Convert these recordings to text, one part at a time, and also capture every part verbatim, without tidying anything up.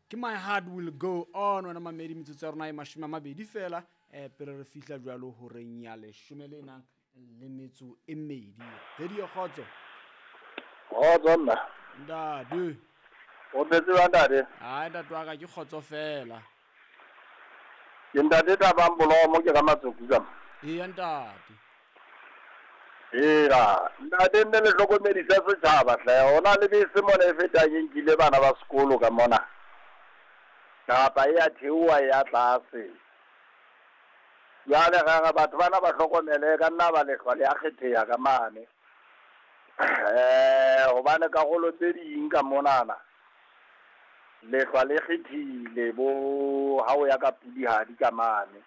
Ke My Heart Will Go On. Wena mamedi, metsotso ya rona e mashome a mabedi fela um pele re fihla jwalo horeng ya leshome le nang le metso e mmedi. Radio Kgotso. Kgotso nna. Ntate. O phetse jwang, ntate? Ai, ntate wa ka, ke kgotso fela. Ke ntate Thabang Bolomo, ke ka Matsoku ka mo. Eya, ntate. Eya, ntate, nne le hlokomedisa setjhaba hle. Ho na le bese mona e fetang e nkile bana ba sekolo ka mona. Kapa e ya theoha e ya tlase. Jwale re re batho bana ba hlokomele ka nna ba lehlwa le a kgetheha ka mane. Eh hobane karolo tse ding ka monana lehlwa le kgethile bo ha o ya ka Pudihadi ka mane.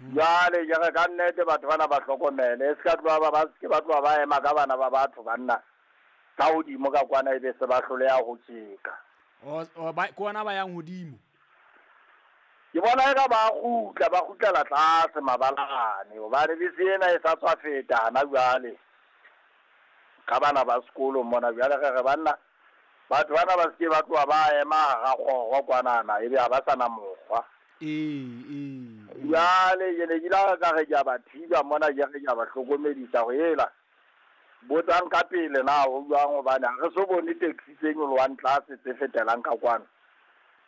Jwale ke re ka nnete batho bana ba hlokomele, e se ka tloha ba ba se ke ba tloha ba ema ka bana ba batho banna ka hodimo ka kwana, ebe se ba hloleha ho tjeka. O o ba ke ona ba yang hodimo. Ke bona eka ba kgutla, ba kgutlela tlase mabalane, hobane bese ena e sa tswa feta hana jwale ka bana ba sekolo mona. Jwale re re banna, batho bana ba se ke ba tloha ba ema hara kgoro kwanana, ebe ha ba sa na mokgwa. Ee, ee. Jwale ke ne ke ile ka re ke a ba thiba mona, ke re ke a ba hlokomedisa hore ela botsang ka pele na ho jwang, hobane ha re so bone taxi tse nyolohang tlase tse fetelang ka kwano.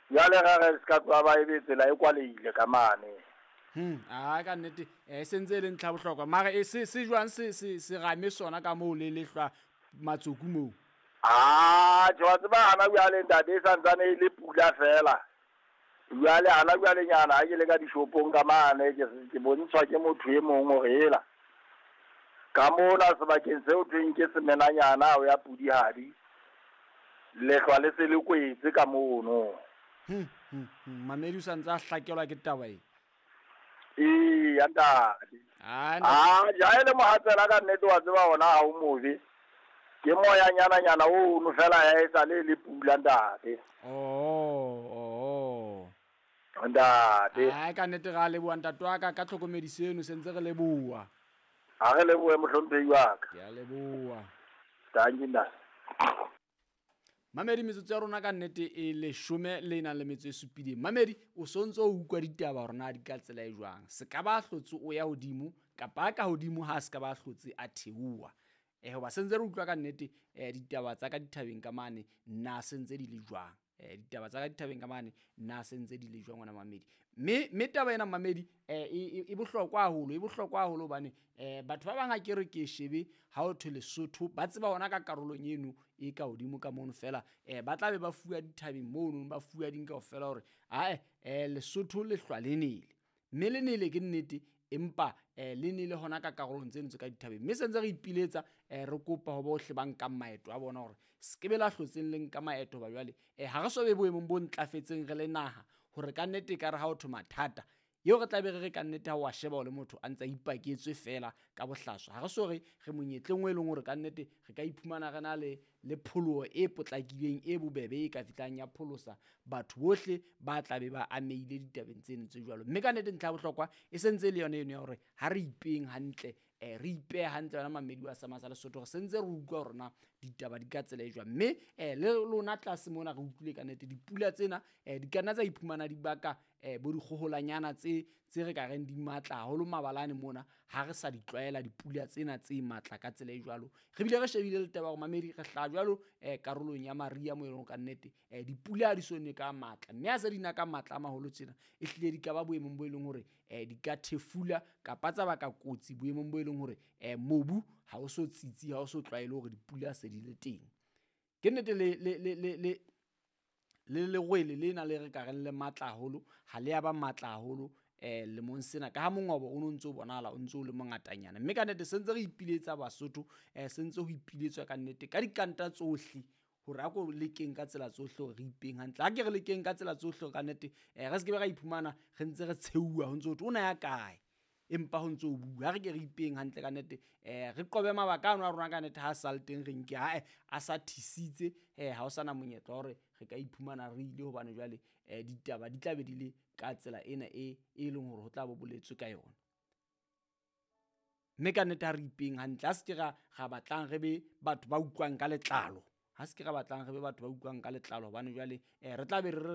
Jwale re re se ka tloha ba ebe tsela e kwalehile ka mane. Hmm, a ka nnete eh sentse e le ntlha bohlokwa. Mara e se se jwang se se se rame sona ka moo le lehlwa Matsoku moo? Ah, tjhe, wa tseba hana jwale ntate, e santsane e le pula fela. Jwale hana jwale nyana ha ke le ka dishopong ka mane, ke ke bontshwa ke motho e mong hore ela ka mona sebakeng seo thweng ke semenanyana ho ya Pudihadi, lehlwa le se le kwetse ka mono. Hmm, hmm, hmm. Mamedi o santse a hlakelwa ke taba e. Eya, ntate. Ah, Ah, ja e le mohatsela ka nnete, wa tseba hona ha o mobe. Ke moya nyana nyana ono fela ya e sa le le pula, ntate. Oh, oh. Ntate. Ai, ka nnete ra leboha, ntate wa ka, ka tlhokomediso eno, sentse re leboha. Ha re lebohe, mohlomphehi wa ka. Ke a leboha. Dankie, ntate. Mamedi, metsotso ya rona ka nnete e leshome le nang le metso e supileng. Mamedi, o sontso o utlwa ditaba hore na di ka tsela e jwang. Se ka ba hlotse o ya hodimo kapa ka hodimo ha se ka ba hlotse a theoha. Eh hoba sentse re utlwa ka nnete eh ditaba tsa ka dithabeng ka mane na sentse di le jwang. Eh ditaba tsa ka dithabeng ka mane na sentse di le jwang, ngwana mamedi. Mme mme taba ena, mamedi, eh e e bohlokwa haholo, e bohlokwa haholo hobane eh batho ba bang ha ke re ke shebe ha o thwe Lesotho ba tseba hona ka karolong eno e ka hodimo ka mono fela, eh ba tla be ba fuwa dithabeng mono, ba fuwa ding kaofela hore ae eh Lesotho le hlwa le nele. Mme le nele ke nnete, empa eh le nele hona ka karolong tseno tse ka dithabeng. Mme sentse re ipiletsa, eh re kopa ho bohle ba nkang maeto a bona hore se ke be la hlotseng le nka maeto ba jwale eh ha re so be boemong bo ntlafetseng re le naha hore ka nnete ekare ha o thwe mathata eo re tla be re re ka nnete ha wa sheba o le motho a ntse a ipaketswe fela ka bohlaswa. Ha re so re re monyetleng o e leng hore ka nnete re ka iphumana re na le le pholoho e potlakileng e bobebe e ka fihlang ya pholosa batho bohle ba tla be ba amehile ditabeng tseno tse jwalo. Mme ka nnete ntlha ya bohlokwa e sentse e le yona eno ya hore ha re ipeng hantle, eh re ipehe hantle yona mamedi wa Sama sa Lesotho, re sentse re utlwa hore na ditaba di ka tsela e jwang. Mme eh le lona tlase mona re utlwile ka nnete dipula tsena eh di ka nna tsa iphumana di baka eh bo dikgoholanyana tse tse re ka reng di matla haholo mabalane mona ha re sa di tlwaela dipula tsena tse matla ka tsela e jwalo. Re bile re shebile le taba hore mamedi re hlaha jwalo eh karolong ya mariha mo e leng ka nnete eh dipula ha di so ne ka matla, mme ha se di na ka matla a maholo tjena e hlile di ka ba boemong bo e leng hore eh di ka thefula kapa tsa baka kotsi boemong bo e leng hore eh mobu ha o so tsitsi, ha o so tlwaele hore dipula se di le teng. Ke nnete le le le le le le lerwele lena le re ka reng le matla haholo ha le ya ba matla haholo eh lemong sena ka ha mongobo o no ntso bonahala o ntso o le mongatanyana. Mme ka nnete sentse re ipiletsa Basotho, eh sentse ho ipiletswa ka nnete ka dikanta tsohle hore a ko lekeng ka tsela tsohle hore re ipeng hantle. Ha ke re lekeng ka tsela tsohle ka nnete eh re se ke be ra iphumana re ntse re tsheuwa ho ntso ho thwe o na ya kae, empa ho ntso o bua. Ha re ke re ipeng hantle ka nnete, eh re qobe mabaka ano a rona ka nnete ha a sa le teng re nke ae a sa thisitse, eh ha o sana monyetla wa hore re ka iphumana re ile, hobane jwale eh ditaba di tla be di le ka tsela ena e e leng hore ho tla bo boletswe ka yona. Mme ka nnete ha re ipeng hantle, ha se ke ra ra batlang re be batho ba utlwang ka letlalo, ha se ke ra batlang re be batho ba utlwang ka letlalo, hobane jwale eh re tla be re re